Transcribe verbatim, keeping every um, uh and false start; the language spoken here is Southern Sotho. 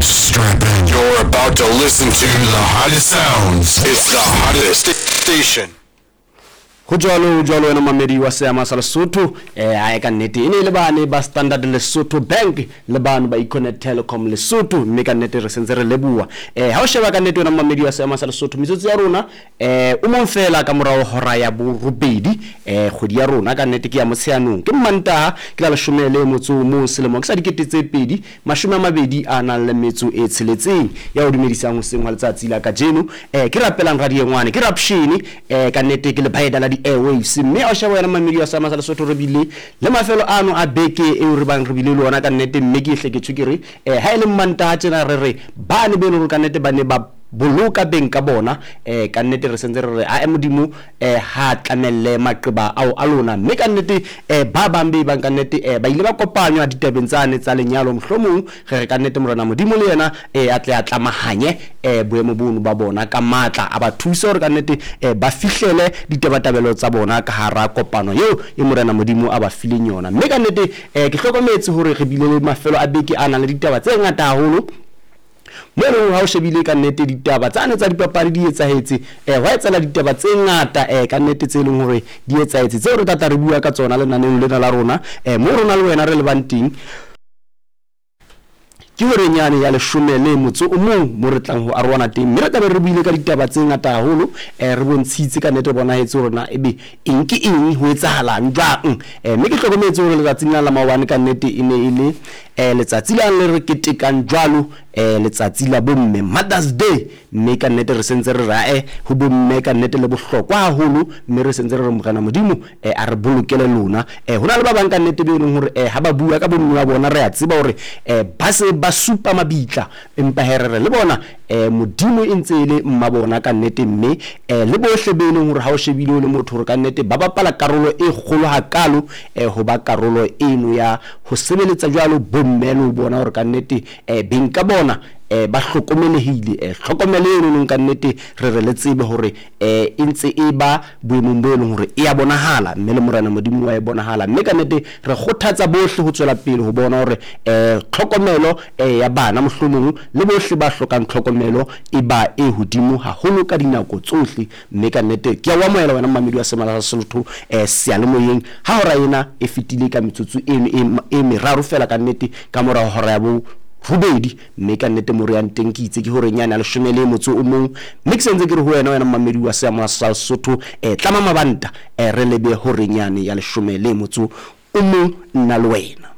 Strap in. You're about to listen to the hottest sounds. It's the hottest station. Ho jwalo, ho jwalo, wena mamedi wa seama sa Lesotho. eh ae ka nnete e ne e le bane ba Standard Lesotho Bank le bano ba Econet Telecom Lesotho, mme ka nnete re sentse re leboha. eh Ha o sheba ka nnete, wena mamedi wa seama sa Lesotho, metsotso ya rona eh o mong fela ka morao hora ya borobedi. eh Kgwedi ya rona ka nnete ke ya Motsheanong, ke Mmantaha, ke la leshome le motso o mong, selemo ke sa dikete tse pedi mashome a mabedi a nang le metso e tsheletseng. Ya o dumedisang hoseng hwa letsatsi la kajeno eh ke rapelang radiengwane, ke Rapshene. eh ka nnete ke lebaeda la di-airwaves, mme a o sheba, wena mamedi wa sama sa Lesotho, re bile le mafelo ano a beke eo re bang re bile le ona ka nnete. Mme ke ehle ke tjho ke re um ha e le Mmantaha tjena, re re bane be e leng hore ka nnete ba ne ba boloka beng ka bona, um ka nnete re sentse re re ae Modimo um ha tlamelle maqeba ao a lona. Mme ka nnete um ba bang be bang ka nnete um ba ile ba kopanywa ditabeng tsane tsa lenyalo, mohlomong re re ka nnete Morena Modimo le yena um a tle a tlamahanye um boemo bono ba bona ka matla, a ba thuse hore ka nnete um ba fihlele ditabatabelo tsa bona ka hara kopano eo e Morena Modimo a ba fileng yona. Mme ka nnete um ke hlokometse hore re bile le mafelo a beke a nang le ditaba tse ngata haholo, mo e leng ha o shebile ka nnete ditaba tsane tsa dipapadi di etsahetse, um hwa etsahala ditaba tse ngata um ka nnete tse leng hore di etsahetse, tseo re tlatla re bua ka tsona lenaneong lena la rona. um mo rona le wena re lebang teng ke horeng yane ya leshome le motso o mong, mo re tlang ho arohana teng, mme re tlabe re buile ka ditaba tse ngata haholo. um re bontshitse ka nnete, bonahetse hore na ebe eng ke eng, ho etsahalang jwang. um mme ke hlokometse hore letsatsing la la maobane ka nnete e ne e le um letsatsi la le re ketekang jwalo, um letsatsi la bomme, Mother's Day. Mme ka nnete re sentse re rae ho bomme ka nnete le bohlokwa haholo, mme re sentse re re Morena Modimo um a re bolokele lona. um ho na le ba bang ka nnete be leng hore um ha ba bua ka bomme ba bona, re a tseba hore um ba se ba supa mabitla, empa he re re le bona um Modimo e ntse e le mma bona ka nnete. Mme um le bohle be leng hore ha o shebile o le motho hore ka nnete ba bapala karolo e kgolo hakalo, um ho ba karolo eno ya ho sebeletsa jwalo bomme le ho bona hore ka nnete um beng ka bona um ba hlokomelehile. um tlhokomelo eno nong ka nnete re re le tsebe hore um e ntse e ba boemong bo e leng hore e ya bonahala, mme le Morena Modimo wa e bonahala. Mme ka nnete re kgothatsa bohle ho tswela pele ho bona hore um tlhokomelo um ya bana, mohlomong le bohle ba hlokang tlhokomelo, e ba e hodimo haholo ka dinako tsohle. Mme ka nnete ke a o amohela, wena mmamedi wa semala sa Sesotho um seyalemoyeng, ha hora ena e fetile ka metsotso eno e, e meraro fela ka nnete ka mora hora ya bo robedi. Mme ka nnete mo re yang teng ke itse ke horeng yane ya leshome le motso o mong, mme ke sentse ke re ho wena, wena mmamedi wa seama sa Sesotho, um tlama mabanta, um re lebe horeng yane ya leshome le motso o mong, nna le wena.